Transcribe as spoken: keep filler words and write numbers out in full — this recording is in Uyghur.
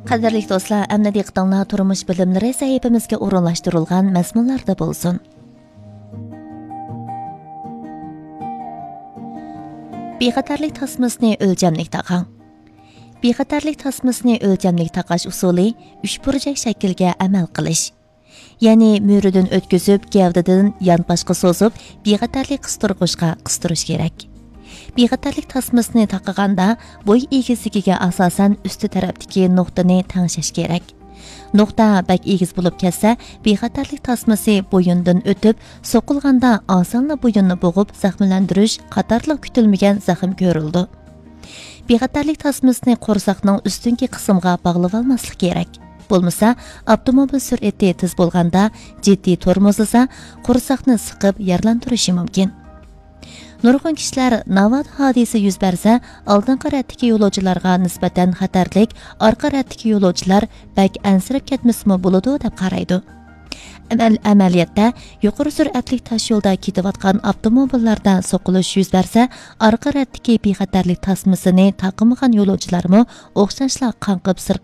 قەدىرلىك دوستلار، ئەمدى دىققىتىڭلار تۇرمۇش بىلىملىرى سەھىپىمىزگە ئورۇنلاشتۇرۇلغان مەزمۇنلاردا بولسۇن. بىخەتەرلىك تاسمىسىنى ئۆلچەملىك تاقاڭ. بىخەتەرلىك تاسمىسىنى ئۆلچەملىك تاقاش ئۇسۇلى ئۈچ بۇرجەك شەكىلگە ئەمەل قىلىش. يەنى مۈرىدىن ئۆتكۈزۈپ، گەۋدىدىن يانپاشقا سوزۇپ، بىخەتەرلىك قىستۇرغۇچقا قىستۇرۇش كېرەك. بىخەتەرلىك تاسمىسىنى تاقىغاندا، بوي ئېگىزلىكىگە ئاساسەن ئۈستى تەرەپتىكى نۇقتىنى تەڭشەش كېرەك. نۇقتا بەك ئېگىز بولۇپ كەتسە، بىخەتەرلىك تاسمىسى بويۇندىن ئۆتۈپ، سوقۇلغاندا ئاسانلا بويۇننى بوغۇپ، زەخىملەندۈرۈش قاتارلىق كۈتۈلمىگەن زەخىم كۆرۈلىدۇ. بىخەتەرلىك تاسمىسىنى قورساقنىڭ ئۈستۈنكى قىسمىغا باغلىۋالماسلىق كېرەك. بولمىسا، ئاپتوموبىل سۈرئىتى تېز بولغاندا جىددىي تورمۇزلىسا، قورساقنى سىقىپ يارىلاندۇرۇشى مۇمكىن. نۇرغۇن كىشىلەر ناۋادا ھادىسە يۈز بەرسە، ئالدىنقى رەتتىكى يولۇچىلارغا نىسبەتەن خەتەرلىك، ئارقا رەتتىكى يولۇچىلار بەك ئەنسىرەپ كەتمىسىمۇ بولىدۇ، دەپ قارايدۇ. ئەمەل-، ئەمەلىيەتتە، يۇقىرى سۈرئەتلىك تاشيولدا كېتىۋاتقان ئاپتوموبىللاردا سوقۇلۇش يۈز بەرسە، ئارقا رەتتىكى بىخەتەرلىك تاسمىسىنى تاقىمىغان يولۇچىلارمۇ ئوخشاشلا قاڭقىپ سىرقىپ